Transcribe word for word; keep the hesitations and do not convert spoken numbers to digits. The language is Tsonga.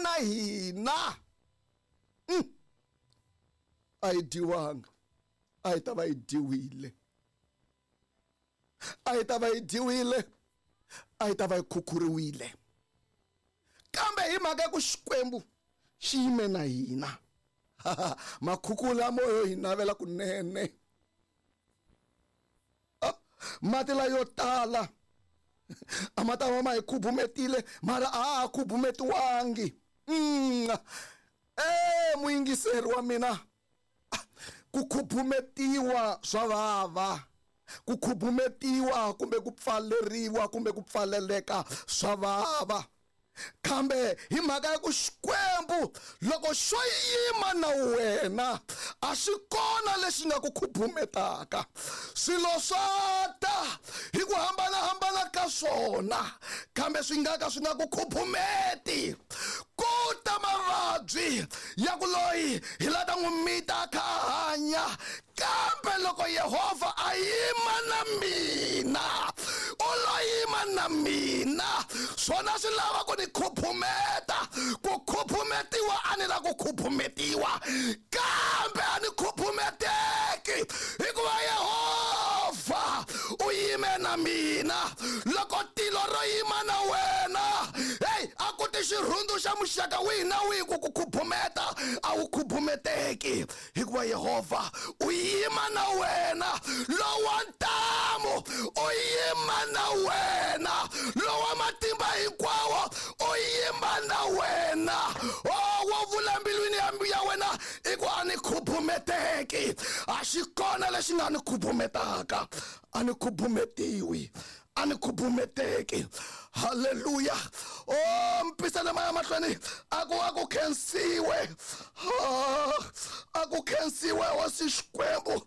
na hina, mm. a yi dyiwanga, a yi ta va yi dyiwile, a yi ta va yi dyiwile, a yi ta va yi khukhuriwile. Kambe hi mhaka ya ku Xikwembu xi yime na hina, makhukhula moyo hi navela kunene, mati layo tala a ma ta va ma hi khubumetile, mara a ha khubumetiwangi. Mm. E muyingiseri wa mina, ku khubumetiwa swa vava, ku khubumetiwa kumbe ku pfaleriwa kumbe ku pfaleleka swa vava. Kambe hi mhaka ya ku Xikwembu loko xo yima na wena, a xi kona lexi nga ku khubumetaka. Swilo swa ta hi ku hambanahambana ka swona, kambe swi nga ka swi nga ku khubumeti. Ku ta mavabyi ya ku loyi hi la ta n'wi mita a kha a hanya, kambe loko Yehovha a yima na mina, u lo yima na mina. Swona swi lava ku ni khubumeta, ku khubumetiwa a ni la ku khubumetiwa, kambe a ni khubumeteki hikuva Yehovha u yime na mina. Loko tilo ro yima na wena, hey, a ku ti xirhundu xa muxaka wihi na wihi ku ku khubumeta, a wu khubumeteki hikuva Yehovha u yima na wena. Lowa ntamu u yima na wena, lowa matimba hinkwawo u yima na wena. Oh, wo vula mbilwini ya ya wena i ku a ni khubumeteki, a xi kona lexi nga ni khubumetaka, a ni khubumetiwi, a ni khubumeteki. Haleluya. Oh, mpisana maya mahlweni a ku a ku khensiwe, a ku khensiwe hosi Xikwembu.